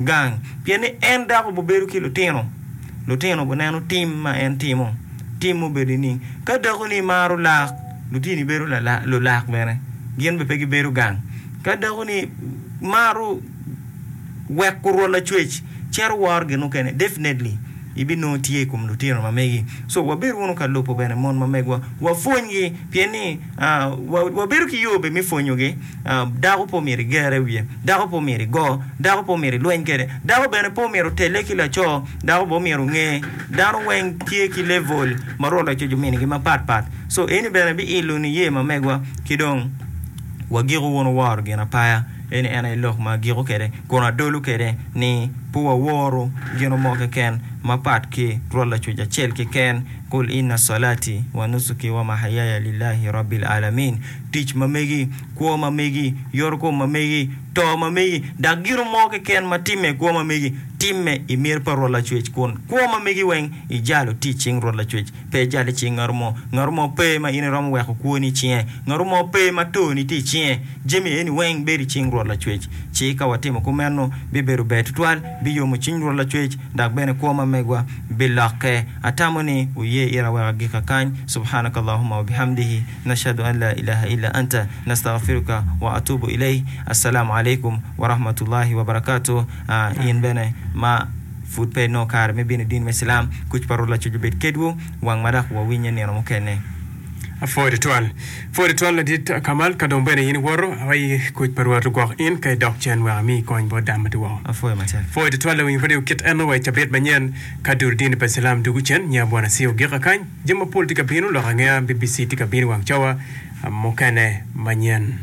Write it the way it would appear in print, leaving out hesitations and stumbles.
gang. Pien ni en dako obibedo ki lutino, lutino guneno tim ma en timo. Tim obedo nining? Ka dakoni maro lak, lutini bedo lulak bene, gin bene pe gibedo gang. Ka dakoni maro weko Rwot Lacwec cito woro gin mukene, definitely ibinongo tye i kom lutino ma megi. So wabed wunu ka lubo bene mon ma megwa, wapwonygi pien ni wabedo ki yo bene me pwonyogi. Dako pe omyero iger i wiye, dako pe omyero igo, dako pe omyero ilweny kwede, dako bene pe omyero otelle ki laco, dako bene omyero onge dano weng tye ki level ma Rwot Lacwec ominigi mapat pat. So eni bene biilo niye ma megwa ki dong wagiko wunu woro gin apaya. Eni en aye lok ma agiko kwede kun adolo kwede ni pe waworu gin mo keken mapat ki Rwot Lacwec acel keken, Kul inna salati wa nusuki wa mahayaya lillahi rabbil alamin. Tic ma megi, kwo ma megi, yoto kom ma megi, to ma megi, dok gin mo keken ma timme i kwo ma megi, timme i miti pa Rwot Lacwec kun kwo ma megi weng ijalo tye i cing Rwot Lacwec, pe ijalo i cing ngat mo. Ngat mo pe ma in iromo weko kwoni i cinge, ngat mo pe ma toni tye i cinge. Jami eni weng bedo i cing Rwot Lacwec. Ci ka watimo kumeno, bibedo ber tutwal, biyomo cwiny Rwot Lacwec, dok bene kwo ma megwa bilokke. Atamo ni wuye ira wek agika kany. Subhanakallahumma wa bihamdihi, nashhadu an la ilaha illa anta, nastaghfiruka wa atubu ilayh. Assalamu alaikum wa rahmatullahi wa barakatuh. In bene ma pud pe inongo kare me bino i dini me Cilam, kuc pa Rwot Lacwec obed kedwu wang ma dok wawinye nino mukene. Apwoyo tutwal. Pwoyo tutwal ladit Kamal, ka dong bene in iwoto, awayi kuc pa Rwot ogwok in ka idok cen wek ami kony bot dano ma tye woko. Apwoyo matek. Pwoyo tutwal lawiny radio kit eno wa i cabit manyen ka dul dini pa Cilam dugu cen nya Bwana Sio gika kany. Jami mapol tye ka bino, lok angeya BBC tye ka bino i wang cawa mukene manyen.